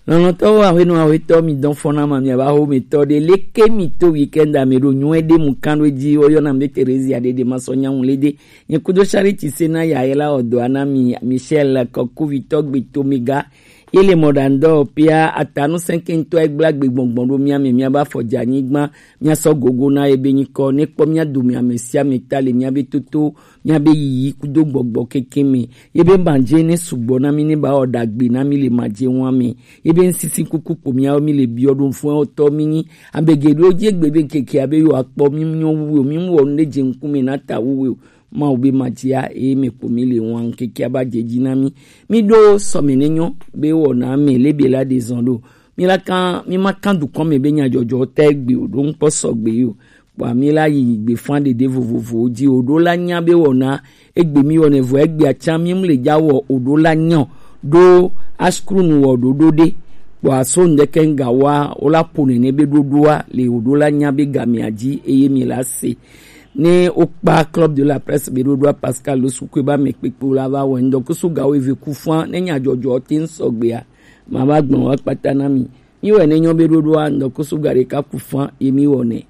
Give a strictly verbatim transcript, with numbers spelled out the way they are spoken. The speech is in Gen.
Lɔlɔ̃tɔwo, ahwenɔ ahwetɔ, mi dɔn fɔna ma, mi aba ho mi tɔ de leke mi to weekend ame ɖo nyuɛ de mu kan ɖo dzi. Wo yɔna mi be Theresia Dede ma sɔ nyaŋu le de. Nye kudo Charity Sena ya yela odo ana mi Michel Kokuvitɔ gbe to mi ga. Ye le mɔ ɖa ŋdɔ pia atanu sɛnkɛntɔ egbla gbe gbɔngbɔn ɖo mia me, mia ba fɔ dza nyigba, mia sɔ gogo na ebe nyikɔ, ne kpɔ mia do mi ame sia ame ta le mia be toto, mia be yiyi kudo gbɔgbɔ keke me. Ye be madze ne sugbɔ na mi, ne ba wɔ ɖagbe na mi le madze wa me. Ye be ŋsisi kuku kpo miawo mi le biɔ ɖo fɔn tɔ mi nyi. Abe geɖewo dzi egbe be ŋkeke abe yewo akpɔ mi nyɔ wu o, mi mu wɔ nu ɖe dze ŋkume na ta wu o. Mawu be madzia eye me kpo mi le wan ŋkeke aba dze dzi na mi. Mi ɖo sɔme ne nyɔ be wɔna me le be la de zɔn ɖo. Mi la kan, mi ma kan dukɔ me be nyadzɔdzɔ ta egbe o, ɖo ŋkpɔ sɔgbe yi o. Kpɔa mi la yi gbe fan ɖeɖe vovovowo dzi o, ɖo la nya be wɔna egbe mi wɔnɛ vɔ egbe atsa mi mu le dza wɔ o, ɖo la nyɔ ɖo askrunu wɔ ɖoɖo ɖe. Kpɔa so ŋdeke ŋga wa o la po nene be ɖoɖoa le o, ɖo la nya be gamea dzi eye mi la se. Ne wokpa Club de la Presse be ɖoɖoa Pascal Losukue ba me kpekpe la va wɔ ŋdɔkusu gawo eve ku fan ne nyadzɔdzɔ te ŋsɔgbea. Ma va gblɔ wa kpata na mi. Mi wɔ ne nyɔ be ɖoɖoa ŋdɔkusu ga ɖeka ku fan ye mi wɔ ne.